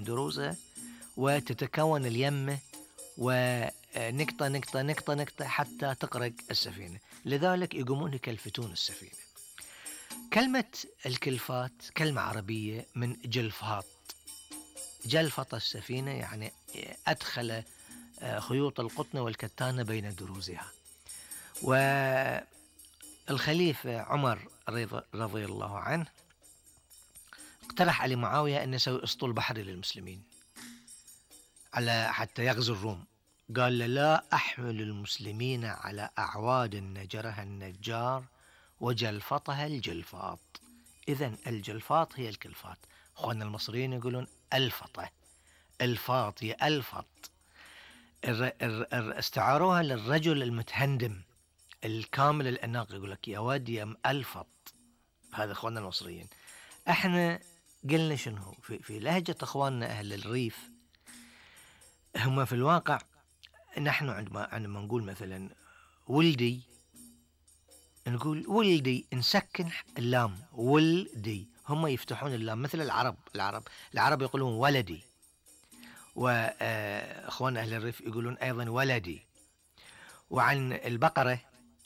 دروزها وتتكون اليمة ونقطة نقطة نقطة نقطة حتى تغرق السفينة. لذلك يقومون يكلفتون السفينة. كلمة الكلفات كلمة عربية من جلفاط. جلفط السفينة يعني أدخل خيوط القطن والكتان بين دروزها. والخليفة عمر رضي الله عنه اقترح علي معاوية أن يسوي أسطول بحري للمسلمين على حتى يغزو الروم. قال له: لا أحمل المسلمين على أعواد نجرها النجار وجلفطها الجلفاط. إذن الجلفاط هي الكلفات. أخواننا المصريين يقولون الفطة، الفاط يألفط. استعاروها للرجل المتهندم الكامل الأناق، يقول لك يا ود يا مألفط. هذا أخواننا المصريين. احنا قلنا شنو في لهجة أخواننا أهل الريف، هم في الواقع نحن عندما نقول مثلا ولدي، نقول ولدي، نسكن اللام ولدي. هم يفتحون اللام مثل العرب يقولون ولدي، وأخوان أهل الريف يقولون أيضا ولدي. وعن البقرة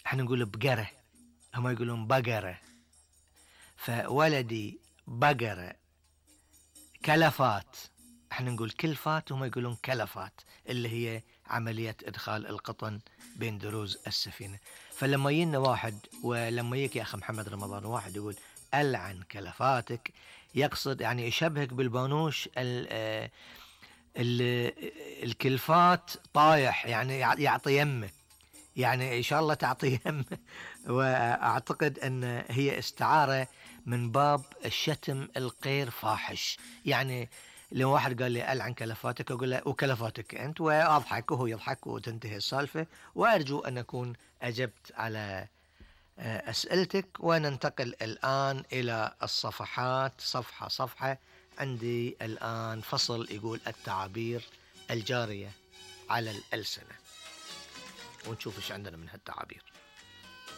احنا نقول بقرة، هم يقولون بقرة. فولدي بقرة. كلفات احنا نقول كلفات، هم يقولون كلفات، اللي هي عملية إدخال القطن بين دروز السفينة. فلما يجينا واحد، ولما يجيك يا أخي محمد رمضان واحد يقول ألعن كلفاتك، يقصد يعني يشبهك بالبانوش الكلفات طايح، يعني يعطي يمه، يعني إن شاء الله تعطي يمه. وأعتقد أن هي استعارة من باب الشتم الغير فاحش. يعني لو واحد قال لي ألعن كلفاتك، أقول له وكلفاتك أنت، وأضحك وهو يضحك وتنتهي السالفة. وأرجو أن أكون أجبت على أسئلتك. وننتقل الآن إلى الصفحات صفحة صفحة. عندي الآن فصل يقول التعابير الجارية على الألسنة، ونشوف إيش عندنا من هالتعابير.